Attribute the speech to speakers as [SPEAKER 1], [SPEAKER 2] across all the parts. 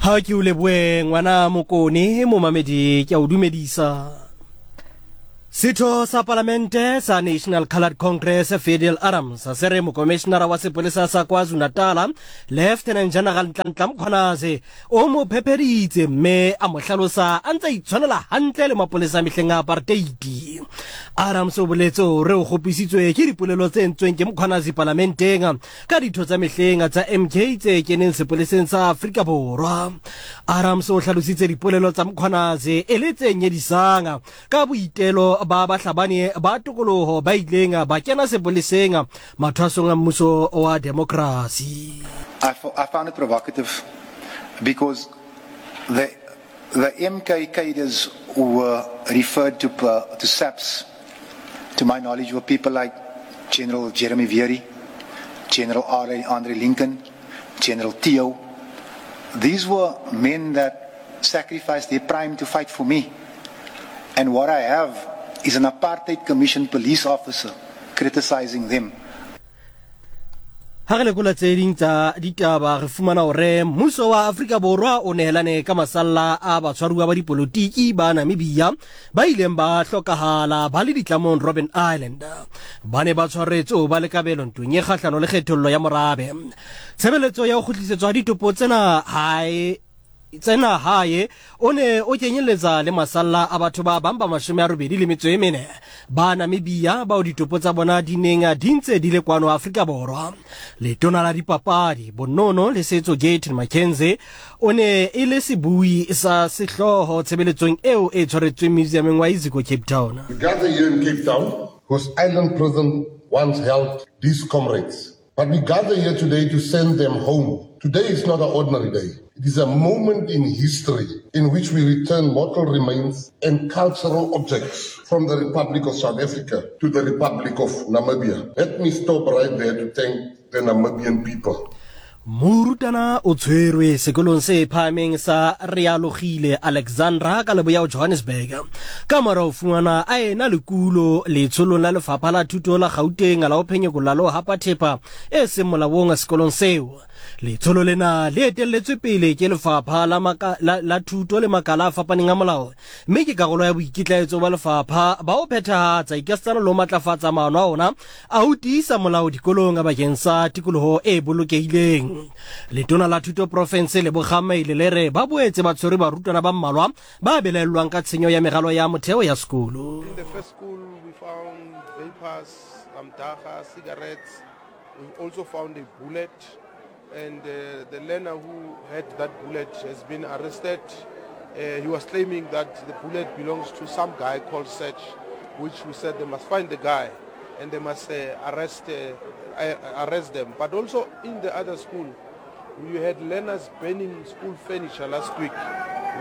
[SPEAKER 1] Ha ke o leboe ngwana Mokone, momamedi ke a o dumedisa. Setho sa palamente sa National Coloured Congress Fadiel Adams se re mokomishinara wa sepolesa sa KwaZulu-Natal Lieutenant General Nhlanhla Mkhwanazi o mo phepheditse mme a mo hlalosa a ntse a itshwanela hantle le mapolesa a mehleng a apartheid. Adams o boletse hore o kgopisitswe ke dipolelo tse entsweng ke Mkhwanazi palamenteng ka ditho tsa mehleng tsa MK tse keneng sepoleseng sa Afrika Borwa. Adams o hlalositse dipolelo tsa Mkhwanazi e le tse nyedisang ka boitelo ba bahlabani ba tokoloho ba ileng ba kena sepoleseng mathwasong a mmuso wa demokrasi.
[SPEAKER 2] I found it provocative because the MK cadres who were referred to SAPS, to my knowledge, were people like General Jeremy Vearey, General Andre Lincoln, General Theo. These were men that sacrificed their prime to fight for me. And what I have is an apartheid commission police officer criticizing them.
[SPEAKER 1] Ha re lekola tse ding tsa ditaba re fumana hore mmuso wa Afrika Borwa o nehelane ka masalla a batshwaruwa ba dipolotiki ba Namibia ba ileng ba hlokahala ba le ditlamong Robben Island. Ba ne ba tshwaretswe ho ba le kabelo ntweng e kgahlano le kgethollo ya morabe. Tshebeletso ya ho kgutlisetswa ha ditopo tsena hae tsena hae o ne o kenyeletsa le masalla a batho ba bang ba 84 ba Namibia bao ditopo tsa bona di neng di ntse di le kwano Afrika Borwa. Letona la dipapadi, bonono le setso Gayton McKenzie o ne e le sebui sa sehlooho tshebeletsong eo e tshwaretsweng Museumeng wa Iziko Cape Town.
[SPEAKER 3] We gather here in Cape Town, whose island prison once held these comrades. But we gather here today to send them home. Today is not an ordinary day. It is a moment in history in which we return mortal remains and cultural objects from the Republic of South Africa to the Republic of Namibia. Let me stop right there to thank the Namibian people.
[SPEAKER 1] Morutana o tshwerwe sekolong se phahameng sa Realogile Alexandra ka leboya ho Johannesburg ka mora ho fumana a ena le kulo letsholong la lefapha la thuto la Gauteng la ho phenyekolla le ho hapa thepa e seng molaong sekolong seo. Letsholo lena le etelletswe pele ke lefapha la, maka, la, la thuto le makala a fapaneng a molao mme ke karolo ya boikitlaetso ba lefapha ba ho phethahatsa ikasitana le ho matlafatsa maano a ona a ho tiisa molao dikolong bakeng sa tikoloho e bolokehileng. Letona la Thuto Profense Lebogang Maile le re ba boetse ba tshwere barutwana ba mmalwa ba belaellwang ka tshenyo ya meralo ya motheo ya sekolo.
[SPEAKER 4] In the first school we found vapors, some dagga, cigarettes. We also found a bullet and uh, the learner who had that bullet has been arrested. Uh, he was claiming that the bullet belongs to some guy called Sech, which we said they must find the guy and they must uh, arrest, uh, arrest them. But also in the other school, we had learners burning school furniture last week.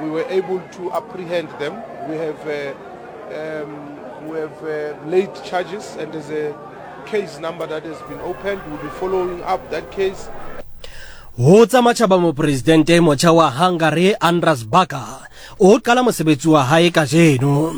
[SPEAKER 4] We were able to apprehend them. We have, um, we have laid charges and there's a case number that has been opened. We'll be following up that case.
[SPEAKER 1] Ho tsa matjhaba mopresidente e motjha wa Hungary Andras Baka o qala mosebetsi wa hae kajeno.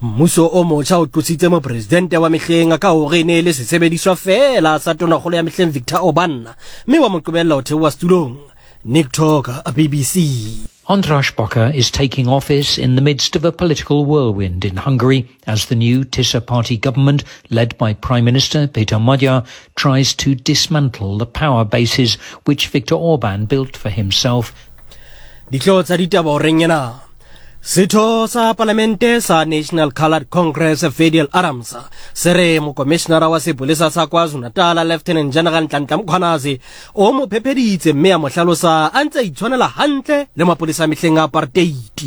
[SPEAKER 1] Mmuso o motjha o qositse mopresidente wa mehleng ka hore e ne e le sesebediswa feela sa tonakgolo ya mehleng Viktor Orban mme wa mo qobella ho theoha setulong. Nick Talker, BBC.
[SPEAKER 5] Andras Baka is taking office in the midst of a political whirlwind in Hungary as the new Tisza party government, led by Prime Minister Peter Magyar, tries to dismantle the power bases which Viktor Orban built for himself.
[SPEAKER 1] Dihlooho tsa ditaba horeng ena. Setho sa palamente sa National Coloured Congress Fadiel Adams se re mokomishinara wa sepolesa sa KwaZulu-Natal Lieutenant General Nhlanhla Mkhwanazi o mo phepheditse mme a mo hlalosa a ntse a itshwanela hantle le mapolesa a mehleng a apartheid.